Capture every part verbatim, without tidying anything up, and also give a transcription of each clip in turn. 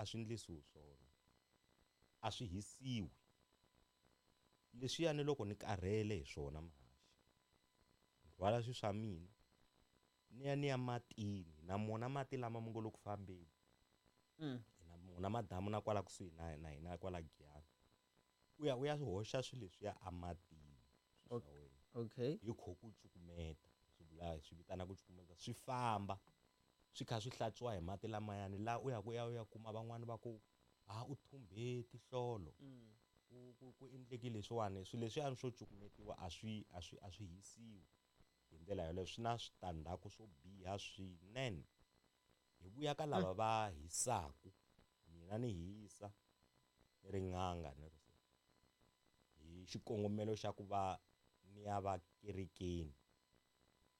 a swi endlisiwi swona a swi hisiwi leswiyani loko ni karhele hi swona mahaxi ni rhwala swilo swa mina ni ya ni ya matini na mona mati lama mu ngo le ku fambeni mm. na mona madamu na kwala kusuhi na na hina kwala Giyani u ya u ya hoxa swilo leswiya amatini swa wena okay hi kho ku cukumeta swi vula swi vitana ku cukumeta swi famba swi kha swi hlantswiwa hi mati lamayani laha u ya ku ya u ya kuma van'wani va ku a u thumbhe tihlolo mm. ku ku ku endleke leswiwani swilo leswiyani swo cukumetiwa a swi a swi a swi hisiwi hi ndlela yoleyo swi na switandzhaku swo biha swinene hi vuya ka lava va hisaku mina ni hisa ni ri n'anga ni ri so hi xikongomelo xa ku va ni ya va kerekeni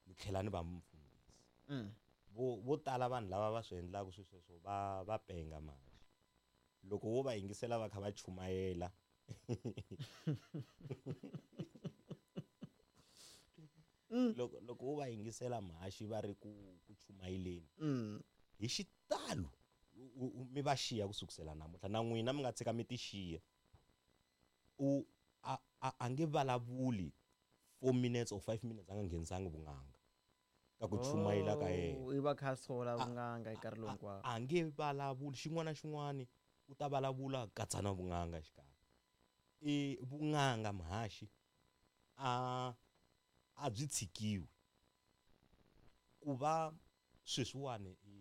ni tlhela ni va mufundhisi Mm. vo vo tala vanhu lava va swi endlaka swilo sweswo va va penga manje loko wo va yingisela va kha va chumayela loko loko wo va yingisela mhaxi va ri ku ku chumayeleni Mm. hi xitalo u- u- mi va xiya ku sukusela namuntlha na n'wina mi nga tshika mi ti xiya u a a a nge vulavuli four minutes or five minutes a nga nghenisangi vun'anga ka ku chumayela ka yena Oh, i va kha sola vun'anga hi nkarhi lowu hinkwawo a nge vulavuli xin'wana na xin'wana u ta vulavula katsa na vun'anga xikarhi i vun'anga muhaxi a a byi tshikiwi ku va sweswiwani i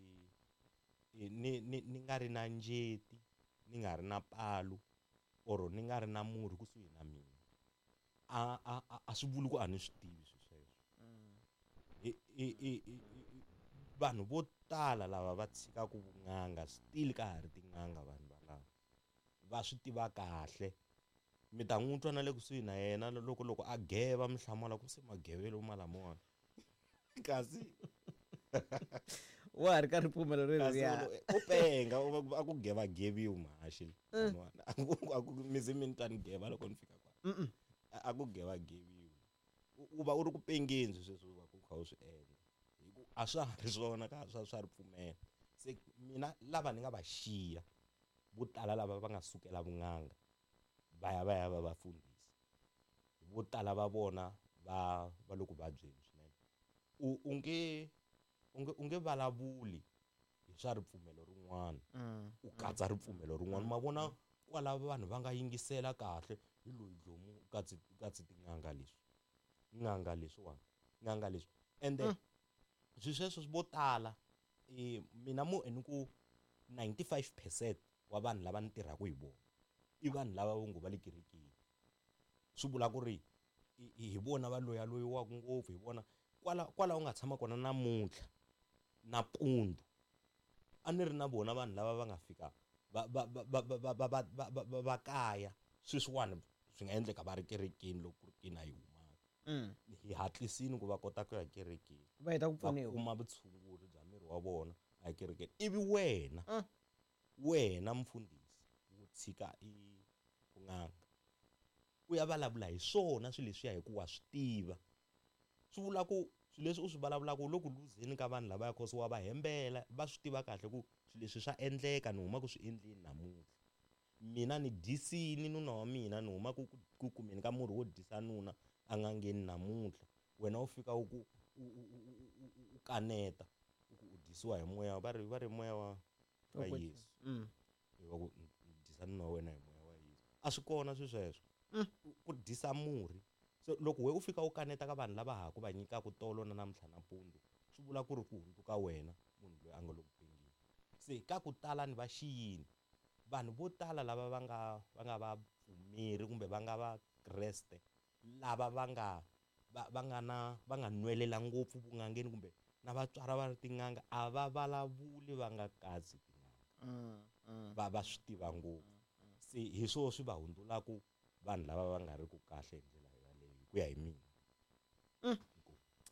i ni ni ni nga ri na njeti ni nga ri na palu or ni nga ri na murhi kusuhi na mina a a a- a swi vuli ku a ni swi tivi swilo sweswo i i i i i- vanhu vo tala lava va tshikaka vun'anga still ka ha ri tin'anga vanhu valava va swi tiva kahle mi ta n'wi twa na le kusuhi na yena loko loko a geva mi hlamala ku se magevelo ma lamawani kasi wa ha ri ka ripfumelo kasi reriya u penga u va- a ku geva geviwi mhaxi van'wana. A ku a ku mi ze mi ni twa ni geva loko ni fika kwala a a ku geva geviwi u u va u ri ku pengeni swilo sweswo u va ku kha u swi endla hi ku a swa ha ri swona ka swa swa ripfumelo se mina lava ni nga va xiya vo tala lava va nga sukela vun'anga va ya va ya va vafundhisi vo tala va vona va va le ku vabyeni swinene u u nge u nge u nge vulavuli hi swa ripfumelo rin'wana Mm. u katsa ripfumelo rin'wana ma vona kwala vanhu va nga yingisela kahle hi loyi dlomu u katsi u katsi tin'anga leswi n'anga leswiwani n'anga leswi ende swilo sweswo vo tala eh, mina mo ni ku ninety-five percent wa vanhu lava ni tirhaka hi vona i vanhu lava vo ngo va le kerekeni swi vula ku ri i- i- hi vona va loyaloyiwaka ngopfu hi vona kwala kwala u nga tshama kona namuntlha nampundzu a ni ri na vona vanhu lava va nga fika va va va va va va va va va va va kaya sweswiwani swi nga endleka va ri kerekeni loko ku ri kini a yi humaka Mm. hi hatlisini ku va kota ku ya kerekeni va heta ku va pfuniwa kuma vutshunguri bya miri wa vona a kerekeni ivi wena Mm. wena mfundhisi wo tshika i vun'anga u ya vulavula hi swona swilo leswiya hikuva wa swi tiva swi vula ku swilo leswi u swi vulavulaka u le ku luzeni ka vanhu lavaya cause wa va hembela va swi tiva kahle ku swilo leswi swa endleka ni huma ku swi endleni namuntlha mina ni dyisini nuna wa mina ni huma ku ku kumeni ka murhi wo dyisa nuna a nga ngheni namuntlha wena u fika u ku u, u, u, u, u, u kaneta u ku u dyisiwa hi moya va ri va ri moya wa wa Wa ku- Yesu Mm. va ku dyisa nuna wa wena hi moya wa Yesu a swi kona swi sweswo ku dyisa murhi so loko we u fika u kaneta ka vanhu lava ha ku va nyikaka tolo na namuntlha nampundzu swi vula ku ri ku hundzuka wena munhu loyi a nga le ku pengeni se ka ku tala ni va xiyini vanhu vo tala lava va nga va nga vapfumeri kumbe va nga vakreste lava va nga va va nga na va nga nwelela ngopfu vun'angeni kumbe na vatswari va ri tin'anga a va vulavuli va nga katsi tin'anga Mm. Mm. va va swi tiva ngopfu se hi swona swi va hundzulaku vanhu lava va nga ri ku kahle hi ndlela yaleyo hi ku ya hi mina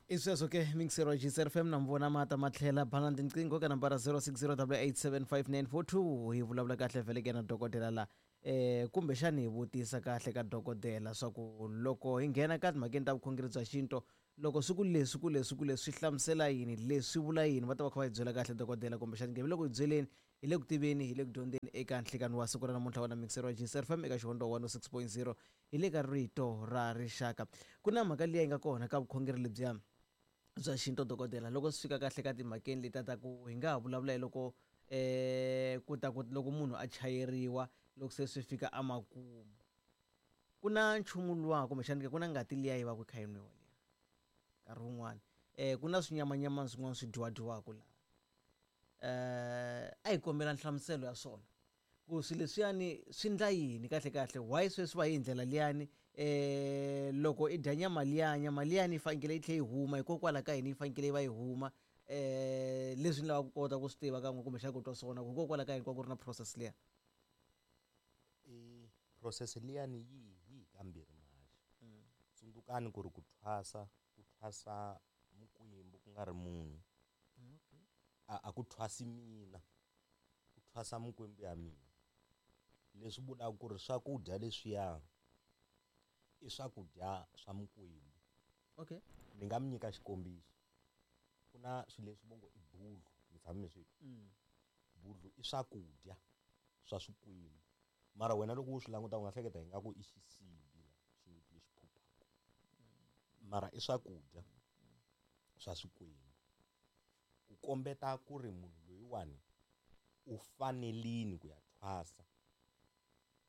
i sweswo ke mixero G C F M na mi vona mata matlhela bana tinqingho ka nambara zero six zero double eight seven five nine four two hi vulavula kahle vhele ke na dokodela la eh kumbexani hi vutisa kahle ka dokodela swa ku loko hi nghena ka timhakeni ta vukhongeri bya xinto loko swi ku leswi ku leswi ku leswi swi hlamusela yini leswi vula yini va ta va kha va hi byela kahle dokodela kumbexani nge loko hi byeleni Hi le ku tiveni, hi le ku dyondzeni eka nhlikani wa siku ra namuntlha wa na mixer wa G C F M eka Xihondzo one oh six point zero hi le ka Rito ra Rixaka. Ku na mhaka liya yi nga kona ka vukhongeri lebyiya bya xintu dokodela, loko swi fika kahle ka timhakeni letiya ta ku hi nga ha vulavula hi loko eh ku ta ku loko munhu a chayeriwa loko se swi fika emakumu, ku na nchumu luwa kumbexana ku na ngati liya yi va ku kha yi nwiwa liya nkarhi wun'wani, eh ku na swinyamanyama swin'wana swi dyiwadyiwaka laha. Eh a hi kombela nhlamuselo ya swona ku swilo leswiyani swi ndla yini kahle kahle, why sweswi va hi ndlela liyani, eh loko i dya nyama liya, nyama liyani yi fanekele yi tlhe yi huma hikokwalaho ka yini yi fanekele yi va yi huma, eh leswi ni lavaka ku kota ku swi tiva kan'we kumbexana ku twa swona ku hikokwalaho ka yini ku va ku ri na process liya. I process liyani yi yi kambirhi mahaxi. Tsundzukani ku ri ku thwasa, ku thwasa mukwembu ku nga ri munhu. A, a ku thwasi mina, ku thwasa mukwembu ya mina. Leswi vulaka ku ri swakudya leswiya i swakudya swa mukwembu. Okay. Ni nga mi nyika xikombiso. Ku na swilo leswi vo ngo i budlu, mi tshame mi swi twa? Budlu i swakudya swa swikwembu. Mara wena loko u swi languta u nga hleketa ingaku i xisibi la, xinguti lexi phuphaka. Mara i swakudya swa swikwembu. Ku kombeta ku ri munhu loyiwani u fanelini ku ya thwasa,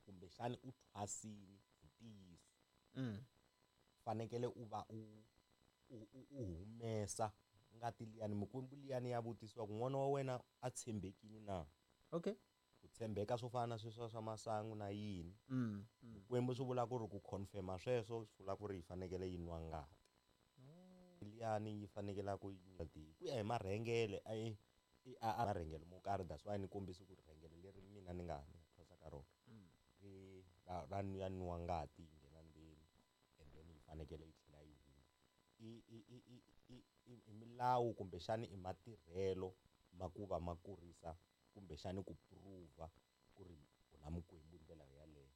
kumbexani u thwasini hi ntiyiso. Mm. Fanekele u va u, u, u, u humesa ngati liyani, mikwembu liyani ya vutisiwa ku n'wana wa wena a tshembekile na. Okay. Ku tshembeka swo fana na sweswo swa masangu na yini. Mm, mm. Mikwembu swi vula ku ri ku confirma sweswo swi vula ku ri yi fanekele yi nwa ngati. Liyani yi fanekele ku yi nwa ngati. Ku ya hi marhengele, a yi, i, a, a marhengele mo karhi, that's why ni kombisa ku ri rhengele leri mina ni nga, ni nga thwasa ka rona. Ri, ra, ra ya nwa ngati yi nghena ndzeni, and then yi fanekele yi tlhela yi huma. I, i, i, i, i, i, i milawu kumbexani i matirhelo ma ku va ma kurisa kumbexani ku prove ku ri u na mukwembu hi ndlela yaleyo.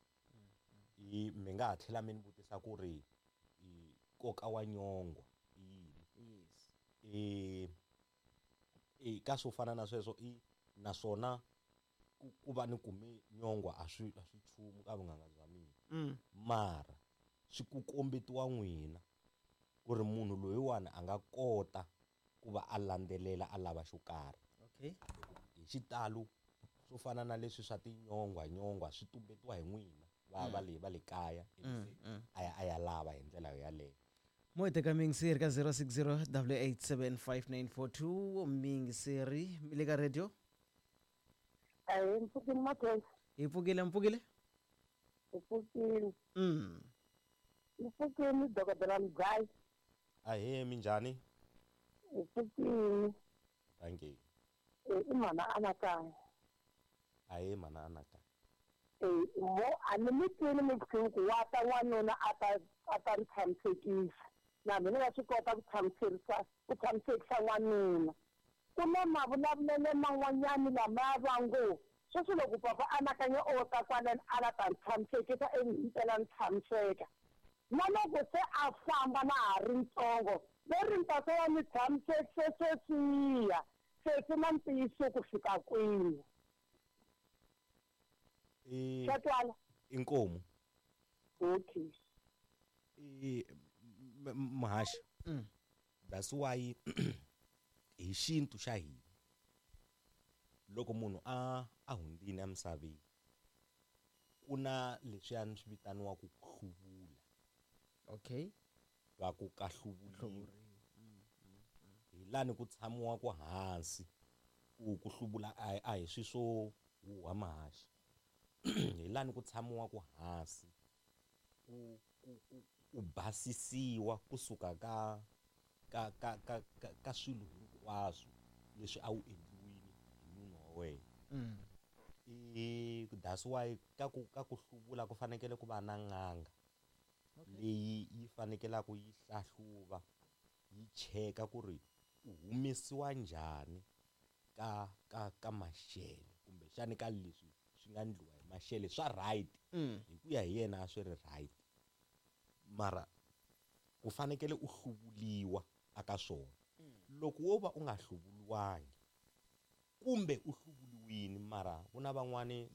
I, mi nga ha tlhela mi ni vutisa ku ri i nkoka wa nyongwa i yini? Yes. I, i ka swo fana na sweswo, i naswona ku, ku va ni kume nyongwa a swi, a swi nchumu ka vun'anga bya mina. Mm. Mara swi ku kombetiwa n'wina ku ri munhu loyiwani a nga kota ku va a landzelela a lava xo karhi. Okay. Hi xitalo swo fana na leswi swa tinyongwa, nyongwa swi tumbetiwa hi n'wina va, va le, va le kaya, ivi Mm, se mm. a ya, a ya lava hi ndlela yaleyo. Mo hi teka miyingiseri ka zero six zero double eight seven five nine four two. Miyingiseri mi le ka radio? Ahee, mpfukile Makhwela. Hi pfukile, mpfukile? Hi pfukile. Mm. Hi pfukile dokodela Mudzayi. Ahee, minjhani? Hi pfukile. Thank you. Eh, i mhana Anakanya. Ahee, mhana Anakanya. Eh, mo a ni mi twini mi pfukile ku wa ta n'wanuna a ta, a ta ni tshamisekisa. Na mina nga swi kota ku tshamisekisa, ku tshamisekisa n'wanuna. Ku na mavulavulelo man'wanyani lama va ngo sweswi loko papa Anakanya o ta kwalano a la ta ni tshamisekisa ivi himpela ni tshamiseka. Na loko se a famba na ha ri ntsongo, ve ri ni ta se va ni tshamisekise sweswiya, se swi na ntiyiso ku fika kwini. I Swa twala? Inkomu. Okay. I m-, m-, muhaxi. Mm. That's why hi xintu xa hina loko munhu a, a hundzile emisaveni ku na leswiyani swi vitaniwaka ku hluvula. Okay. Va ku ka hluvuliwa. Hluvuriwa. Hi lani ku tshamiwaka hansi ku, ku hluvula a, a hi swi swo huha mahaxi. Hi lani ku tshamiwaka hansi ku, ku, ku, ku basisiwa kusuka ka, ka, ka, ka, ka, ka swilo hinkwaswo leswi a wu endliwile hi munhu wa wena. Mm. I, that's why ka ku, ka ku hluvula ku fanekele ku va na n'anga Okay. leyi yi fanekelaka yi hlahluva yi cheka ku ri u humesiwa njhani ka, ka, ka maxele kumbexani ka leswi swi nga ndliwa hi maxele swa right. Mm. Hi ku ya hi yena a swi ri right, mara ku fanekele u hluvuliwa aka swona. Mm. Loko wo va u nga hluvuliwangi kumbe u hluvuliwile wini mara ku na van'wani